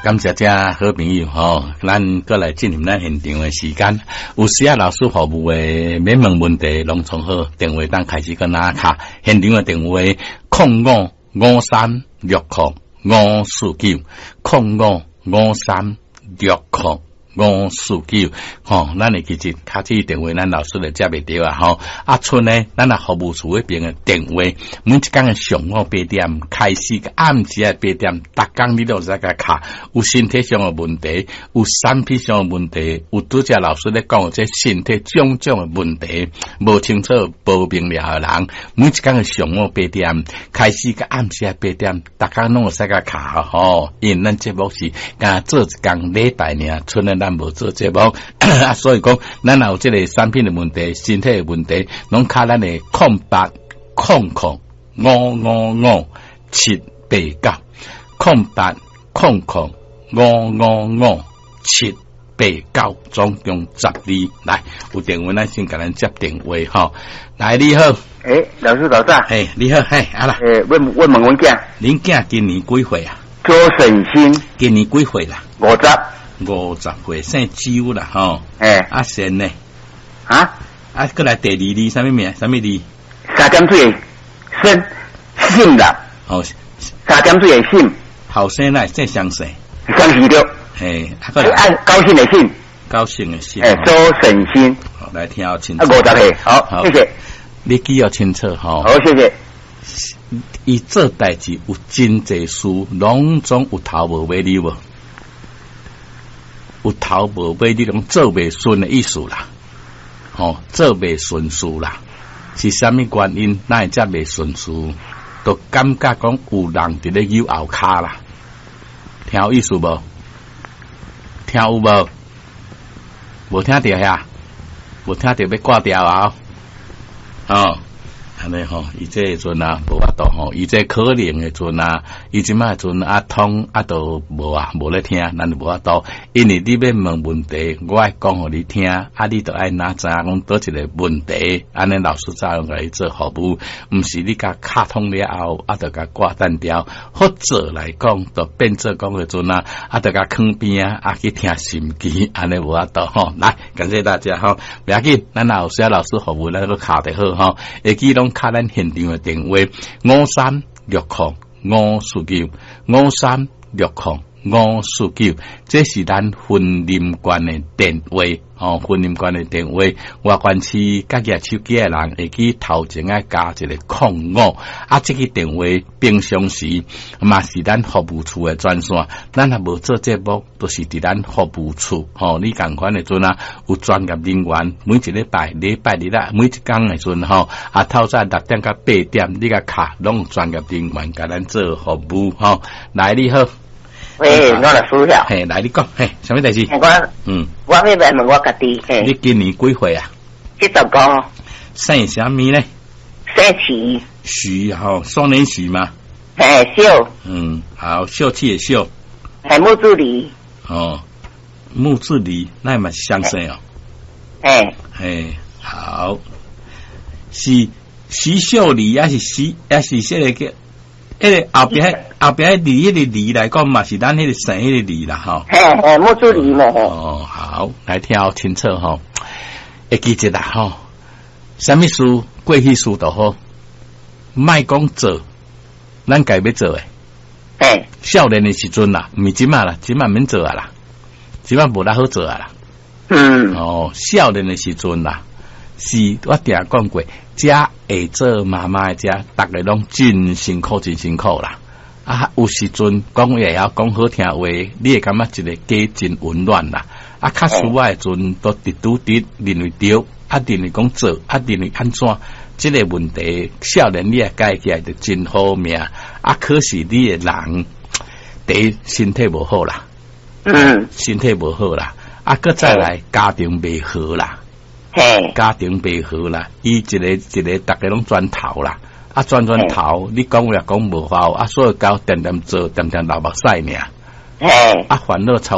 感謝遮好朋友吼，咱閣來進入咱現場的時間。有需要老師服務的免問問題，攏總好電話當開始閣拿卡。現場的電話0553605549，0553605549，吼，咱會記得敲這個電話，咱老師就接袂著啊，吼。啊，賰呢，咱若服務處彼邊的電話，每一工的上午八點開始，到暗時的八點，逐工你都會使共敲。有身體上的問題，有產品上的問題，有拄才老師咧講的這身體種種的問題，無清楚、無明了的人，每一工的上午八點開始，到暗時的八點，逐工攏會使共敲吼。因為咱節目是干做一工禮拜爾，賰呢咱無做節目，啊，所以講，咱若有這個產品的問題、身體的問題，攏敲咱的0800555789，0800555789，總共12。來，有電話咱先共咱接電話吼。來，你好。欸，老師早晨。嘿，你好，嘿，啊啦。欸，問問問阮囝。恁囝今年幾歲啊？周勝新。今年幾歲啦？ 50。 50歲，姓周啦，吼。欸。啊，姓呢？啊？啊，閣來第二字，啥物名？啥物字？三點水，姓姓啦。哦。三點水的姓。後生來姓相姓。相姓著。嘿，啊，啊，高興的興。高興的興。欸，周勝新。好，來聽好清楚。啊，50歲，好，謝謝。你記要清楚吼。好，謝謝。伊做代誌有真濟事，攏總有頭無尾，你無？有頭無尾，你攏做袂順的意思啦，吼，做袂順事啦，是啥物原因？哪會遮袂順事？就感覺講有人佇咧扭後跤啦，聽有意思無？聽有無？無聽著遐？無聽著欲掛掉啊！哦。按呢吼，伊這個陣啊，無法度吼，伊這可能的陣啊，伊這擺陣啊通啊都無啊，無咧聽，咱就無法度。因為你欲問問題，我愛講予你聽，啊，你著愛哪知影講佗一個問題，按呢老師才會共你做服務，毋是你共敲通了後，啊，就共掛斷掉，或者來講，就變做講的陣啊，啊，就共囥邊啊，啊去聽心機，按呢無法度吼。來，感謝大家吼，袂要緊，咱若有需要老師服務，咱閣敲就好吼，會記攏敲咱現場的電話5360549，5360549，這是咱雲林縣的電話，吼，雲林縣的電話，外縣市佮舉手機的人會記頭前愛加一個空五，啊，這個電話平常時嘛是咱服務處的專線，咱若無做節目，都是佇咱服務處，吼，你仝款的陣啊，有專業人員，每一禮拜禮拜日啊，每一工的陣吼，啊，透早6點到8點，你共敲，攏有專業人員共咱做服務，吼，來，你好。喂，我來輸了。嘿，來你講，嘿，啥物代誌？我，我欲來問我家己，嘿。你今年幾歲啊？ 75。姓啥物呢？姓徐。徐吼，雙連徐嗎？嘿，秀。嗯，好，秀氣的秀。係木子李。哦，木子李，那嘛是相姓哦。嘿。嘿，好，是徐秀麗，還是徐，還是這個叫？彼個後壁後壁李彼個李來講嘛，是咱彼個姓彼個李啦，吼。嘿嘿，木子李嘛。哦，好，來聽好清楚吼，會記得啦吼。啥物事過去事就好，莫講做，咱家欲做的。嘿。少年的時陣啦，毋是這馬啦，這馬免做啊啦，這馬無力好做啊啦。哦，少年的時陣啦，是我定講過，遮會做媽媽的遮，逐个攏真辛苦，真辛苦啦。啊，有時陣講會曉講好聽話，你會感覺一個家真溫暖啦。啊，較需要的陣都直拄直認為對，啊，認為講做，啊，認為按怎，這個問題，少年你也解起來就真好命。啊，可是你的人，第一身體無好啦，身體無好啦，啊，閣再來家庭袂和啦。嘿，家庭袂和啦，伊一個一個，逐家攏轉頭啦，啊轉轉頭，你講話也講無效，啊所以搞恬恬做，恬恬流目屎爾。嘿，啊煩惱超。